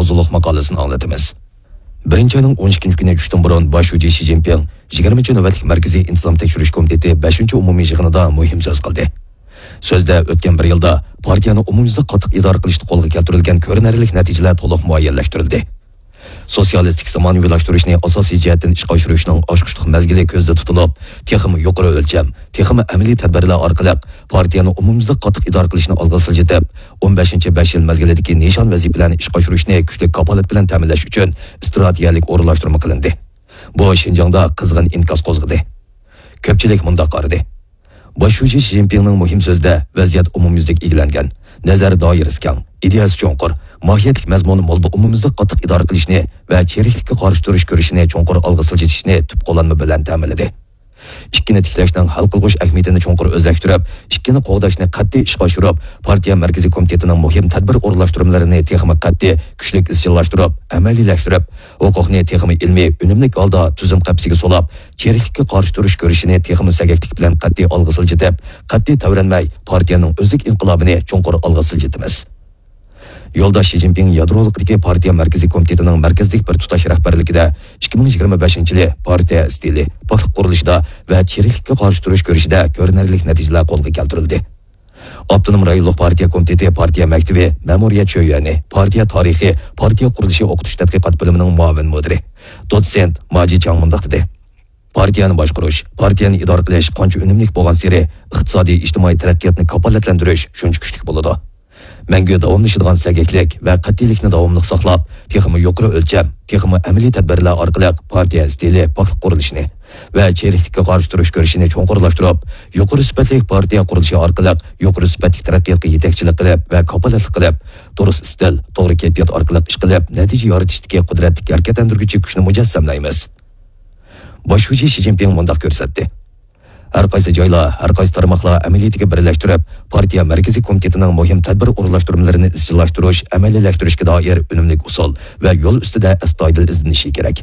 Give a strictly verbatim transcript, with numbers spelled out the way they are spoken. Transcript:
زۇلۇق ماقالىسىنى ئاڭلىتىمىز. بىرىنچى ئاينىڭ ئون ئىككىنچى كۈنى چۈشتىن بۇرۇن باش شۇجى شى جىنپىڭ يىگىرمىنچى نۆۋەتلىك مەركىزىي ئىنتىزام تەكشۈرۈش كومىتېتى بەشىنچى ئومۇمىي يىغىنىدا مۇھىم سۆز قىلدى. سۆزدە ئۆتكەن بىر يىلدا پارتىيەنى ئومۇميۈزلۈك قاتتىق ئىدارە قىلىشتا قولغا كەلتۈرۈلگەن كۆرۈنەرلىك نەتىجىلەر تولۇق مۇئەييەنلەشتۈرۈلدى. سوتسىيالىستىك زامانىۋىلاشتۇرۇشنى ئاساسىي جەھەتتىن ئىشقا ئاشۇرۇشنىڭ ئاچقۇچلۇق مەزگىلى كۆزدە تۇتۇلۇپ، تېخىمۇ يۇقىرى ئۆلچەم، تېخىمۇ ئەمەلىي تەدبىرلەر ئارقىلىق پارتىيەنى ئومۇميۈزلۈك قاتتىق ئىدارە قىلىشنى ئالغا سىلجىتىپ، ئون بەشىنچى بەش يىل مەزگىلىدىكى نىشان ۋەزىپىلەرنى ئىشقا ئاشۇرۇشنى كۈچلۈك كاپالەت بىلەن تەمىنلەش ئۈچۈن ئىستراتېگىيەلىك ئورۇنلاشتۇرما قىلىندى. بۇ شىنجاڭدا قىزغىن ئىنكاس قوزغىدى. كۆپچىلىك مۇنداق قارىدى. باش شۇجى شى جىنپىڭنىڭ مۇھىم سۆزىدە ۋەزىيەت ئومۇميۈزلۈك ئىگىلەنگەن، نەزەر دائىرىسى كەڭ، ئىدىيەسى چوڭقۇر، ماھىيەتلىك مەزمۇنى مول بۇ ئومۇميۈزلۈك قاتتىق ئىدارە قىلىشنى ۋە چىرىكلىككە قارشى تۇرۇش كۈرىشىنى چوڭقۇر ئالغا سىلجىتىشنى تۈپ قوللانما بىلەن تەمىنلىدى. ئىككىنى تىكلەشنىڭ ھەل قىلغۇچ ئەھمىيىتىنى چوڭقۇر ئۆزلەشتۈرۈپ، ئىككىنى قوغداشنى قەتئىي ئىشقا ئاشۇرۇپ، پارتىيە مەركىزىي كومىتېتىنىڭ مۇھىم تەدبىر ئورۇنلاشتۇرمىلىرىنى تېخىمۇ قەتئىي، كۈچلۈك ئىزچىللاشتۇرۇپ، ئەمەلىيلەشتۈرۈپ، ھوقۇقنى تېخىمۇ ئىلمىي، ئۈنۈملۈك ھالدا تۈزۈم قەپىسىگە سولاپ، چىرىكلىككە قارشى تۇرۇش كۈرىشىنى تېخىمۇ سەگەكلىك بىلەن قەتئىي ئالغا سىلجىتىپ، قەتئىي تەۋرەنمەي، پارتىيەنىڭ ئۆزلۈك ئىنقىلابىنى چوڭقۇر ئالغا سىلجىتىمىز. يولداش شى جىنپىڭ يادرولۇقىدىكى پارتىيە مەركىزىي كومىتېتىنىڭ مەركەزلىك بىر تۇتاش رەھبەرلىكىدە ئىككى مىڭ يىگىرمە بەشىنچى يىلى پارتىيە ئىستىلى، پاكلىق قۇرۇلۇشىدا ۋە چىرىكلىككە قارشى تۇرۇش كۈرىشىدە كۆرۈنەرلىك نەتىجىلەر قولغا كەلتۈرۈلدى. ئاپتونوم رايونلۇق پارتىيە كومىتېتى پارتىيە مەكتىۋى مەمۇرىيەت شۆيۈەنى، پارتىيە تارىخى، پارتىيە قۇرۇلۇشى ئوقۇتۇش تەتقىقات بۆلۈمىنىڭ مۇئاۋىن مۇدىرى، دوتسېنت ماجى چاڭ مۇنداق دېدى. پارتىيەنى باشقۇرۇش، پارتىيەنى ئىدارە قىلىش قانچە ئۈنۈملۈك بولغانسېرى، ئىقتىسادىي، ئىجتىمائىي تەرەققىياتنى كاپالەتلەندۈرۈش شۇنچە كۈچلۈك بولىدۇ. مەڭگۈ داۋاملىشىدىغان سەگەكلىك ۋە قەتئىيلىكنى داۋاملىق ساقلاپ، تېخىمۇ يۇقىرى ئۆلچەم، تېخىمۇ ئەمەلىي تەدبىرلەر ئارقىلىق پارتىيە ئىستىلى پاكلىق قۇرۇلۇشىنى ۋە چىرىكلىككە قارشى تۇرۇش كۈرىشىنى چوڭقۇرلاشتۇرۇپ، يۇقىرى سۈپەتلىك پارتىيە قۇرۇلۇشى ئارقىلىق يۇقىرى سۈپەتلىك تەرەققىياتقا يېتەكچىلىك قىلىپ ۋە كاپالەتلىك قىلىپ، دۇرۇس ئىستىل، توغرا كەيپىيات ئارقىلىق ئىش قىلىپ، نەتىجە يارىتىشتىكى قۇدرەتلىك ھەرىكەتلەندۈرگۈچى كۈچنى مۇجەسسەملەيمىز. باش شۇجى شى جىنپىڭ مۇنداق كۆرسەتتى. ھەر قايسى جايلار، ھەر قايسى تارماقلار ئەمەلىيىتىگە بىرلەشتۈرۈپ، پارتىيە مەركىزىي كومىتېتىنىڭ مۇھىم تەدبىر ئورۇنلاشتۇرمىلىرىنى ئىزچىللاشتۇرۇش، ئەمەلىيلەشتۈرۈشكە دائىر ئۈنۈملۈك ئۇسۇل ۋە يول ئۈستىدە ئەستايىدىل ئىزدىنىشى كېرەك.